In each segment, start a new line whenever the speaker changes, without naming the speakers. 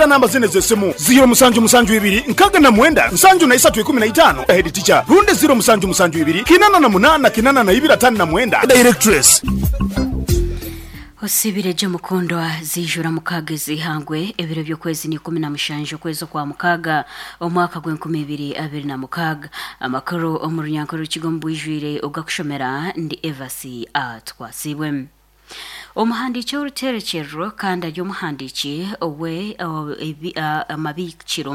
Gambira namba zino ez'esimu, ziiro musanju musanju ibiri 69 73 15, Head Teacher, rundi ziiro musanju musanju ibiri 88 82 59, Directress.
Osiibire gye mukundwa, ziijura mukaaga ez'eihangwe, ebiro by'okwezi n'ikumi na mushanju okwezi okwa mukaaga omwaka gw'enkumi ibiri abiri na mukaaga. Amakuru omu runyankore rukiga omu bwijwire ogakushomera ndi Evasi Atwasiibwe. Omuhandiiki w'oruterekyerero kandi ari omuhandiiki owe amabiikiro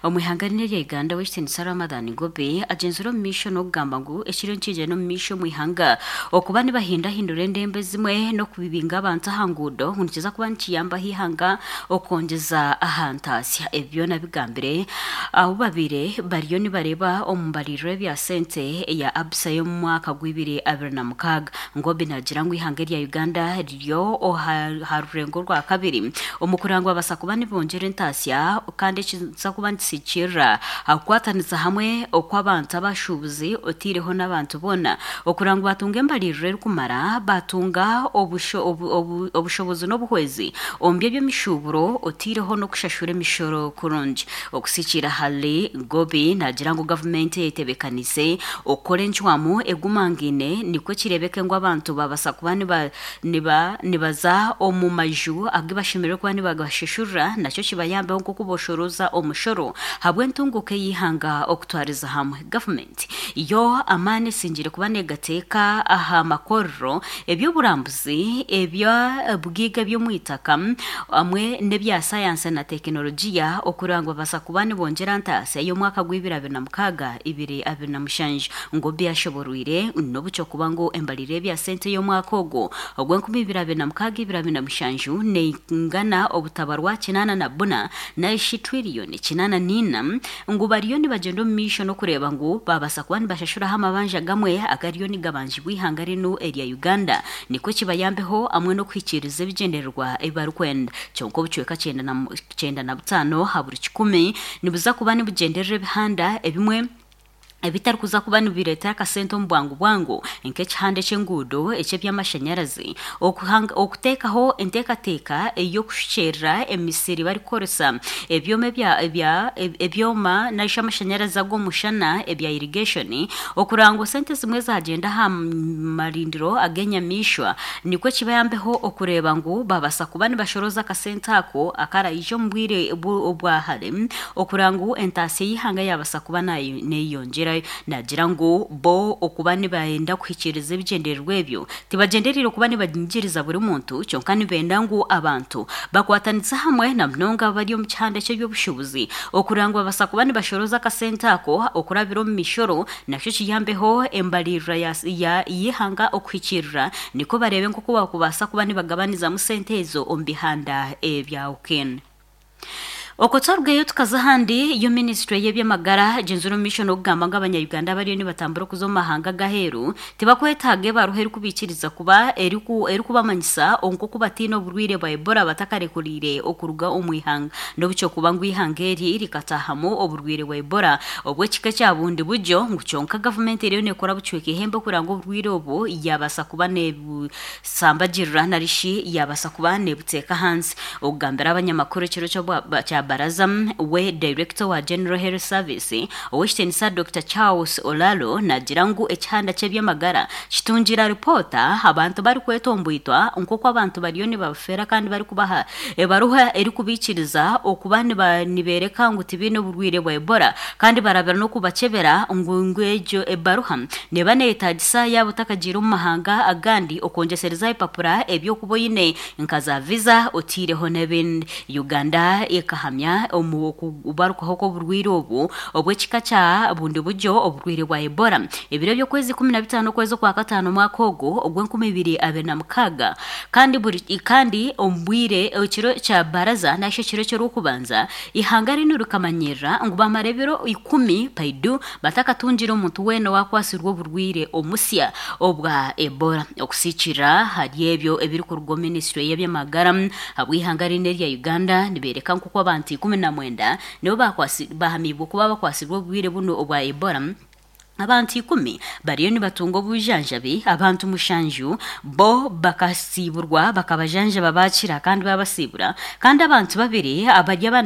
omu ihanga rinu erya Uganda Ow'ekitiinisa Ramadhan Ngobi agyenzire omu maisho n'okugamba ngu ekiriyo nikigyenda omu maisho omu ihanga okuba nibahindahindura endembo ezimwe n'okubibinga abantu aha nguudo ngu nikiza kuba nikiyambaho eihanga okwongyeza aha ntaasya. Ebi byona abigambire ahu babaire bariyo nibareeba omu mbaririra y'ebya sente eya Absa y'omu mwaka gw'ibiri 26. Ngobi naagira ngu eihanga erya Uganda riri aha rurengo orwa kabiri omu kureba ngu babaasa kuba nibongyera entaasya kandi ekiza kuba nikisigikirira aha kukwatanisa hamwe okw'abantu abashuubuzi oteireho n'abantu boona okureba ngu baatunga embaririra erikumara baatunga obushobozi n'obuhwezi omu by'eby'emishuuburo oteireho n'okushashura emishoro kurungi. Okusikiira ahari Ngobi naagira ngu gavumenti eyetebeekaniise Okukora encwamu egumangaine nikwo kireebeke ngu abantu baabasa kuba nibaza omu maju agu bashemereire kuba nibagashashurira nakyo kibayambeho nk'oku boshorooza omushoro ahabw'entunguuka ey'eihanga okutwariza hamwe. Gavumenti yo amaani esingire kuba negateeka aha makorero, eby'oburambuzi, eby'obugaiga eby'omu itaka hamwe n'ebya sayansi na tekinologiya okureba ngu babaasa kuba nibongyera ntaasya y'omwaka gw'ibiri 26. 2027 ngu obu yashoborwire n'obu ky'okuba ngu embarira y'ebya sente y'omwaka ogu ogw'enkumi ibiri abiri na mukaaga ibiri abiri na mushanju neingana obutabarwa kinaana na buna narishi twiriyoni kinaana n'ina ngu bariyo nibagyenda omu maisho n'okureeba ngu babaasa kuba nibashashuraho amabanja gamwe agariyo nigabanjibwa eihanga rinu erya Uganda nikwo kibayambeho hamwe n'okuhikiiriza ebigyendererwa ebi barikwenda kyonka obucweka 95 aha buri kikumi nibuza kuba nibugyenderera ebihanda ebimwe ebitarikuza kuba nibireeta akasente omu bwangu bwangu nk'ekihanda eky'enguudo, eky'eby'amashanyarazi, okuteekaho enteekateeka ey'okushukyerera emisiri barikukoresa ebyoma ebya ebyoma narishi amashanyarazi ag'omushana ebya irrigation, okureba ngu sente ezimwe zagyenda aha marindiro ag'enyamaishwa nikwo kibayambeho okureeba ngu babaasa kuba nibashorooza akasente ako akaraije omu bwire obwa hare okureba ngu entaasya y'eihanga yaabaasa kuba neeyeyongyerayo. Naagira ngu bo okuba nibenda kuhikiiriza ebigyendererwa ebyo, tibagyendereire kuba nibanyigiriza buri muntu kyonka nibenda ngu abantu bakwatanise hamwe na munonga abari omu kihanda ky'eby'obushuubuzi okureba ngu babaasa kuba nibashorooza akasente ako okurabira omu mishoro Nakyo kiyambeho embaririra y'eihanga okuhikiirira, nikwo bareebe nk'oku bakubaasa kuba nibagabanizamu sente ezo omu bihanda ebyahukene. Okwo twarugayo tukaza ahandi, yo minisitule y'eby'amagara egyenzire omu maisho n'okugamba ngu abanya-Uganda abariyo nibatambura okuza omu mahanga ag'aheeru tibakwetaaga ebaruha erikubaikiriza kuba erikubamanyisa nk'oku bataine oburwaire bwa Ebola batakarekuriire okuruga omu ihanga n'obu ky'okuba ngu eihanga eri rikataahamu oburwaire bwa Ebola Obw'ekika ekya bundi buryo ngu kyonka gavumenti eriyo neekora bucweka eihembe kureba ngu oburwaire obu yaabaasa kuba neebusambagirira nari shi yaabaasa kuba neebuteeka ahansi. Okugambira abanyamakuru ekiro kya baraza, we Dayirekita owa General Health Service, Ow'ekitiinisa Dokita Charles Olalo naagira ngu ekihanda ky'eby'amagara kitungire aripoota abantu barikwetomboitwa nk'oku abantu bariyo nibabafeera kandi barikubaha Ebaruha erikubaikiriza okuba nibeereka ngu tibaine oburwaire bwa Ebola kandi barabira n'okubakyebera ngu ngu egyo ebaruha neeba neyetaagisa yaaba otakagiire omu mahanga agandi okwongyesereza aha bipapura eby'okuba oine nka za visa oteireho n'ebindi. Uganda ekahamya omu okubarukaho kw'oburwaire obu obw'ekika kya bundi buryo oburwaire bwa Ebola ebiro by'okwezi 15 okwezi okwakataano omwaka ogu ogw'enkumi ibiri abiri na mukaaga. Kandi buri kandi omu bwire ekiro kya baraza nari shi ekiro ky'orw'okubanza, eihanga rinu rikamanyirira ngu baamara ebiro ikumi paidu batakatungire omuntu weena owakwatsirwe oburwaire omusya obwa Ebola. Okusiikirira ahari ebyo ebirikuruga omu minisitule y'eby'amagara ahabw'eihanga rinu erya Uganda nibeereka nk'oku abantu 19 nibo baahamiibwe kuba bakwatsirwe oburwaire bunu obwa Ebola. Abantu ikumi bariyo nibatunga obujanjabi, abantu mushanju bo bakasiiburwa bakabajanjaba baakira kandi baabasiibura kandi abantu babiri abari.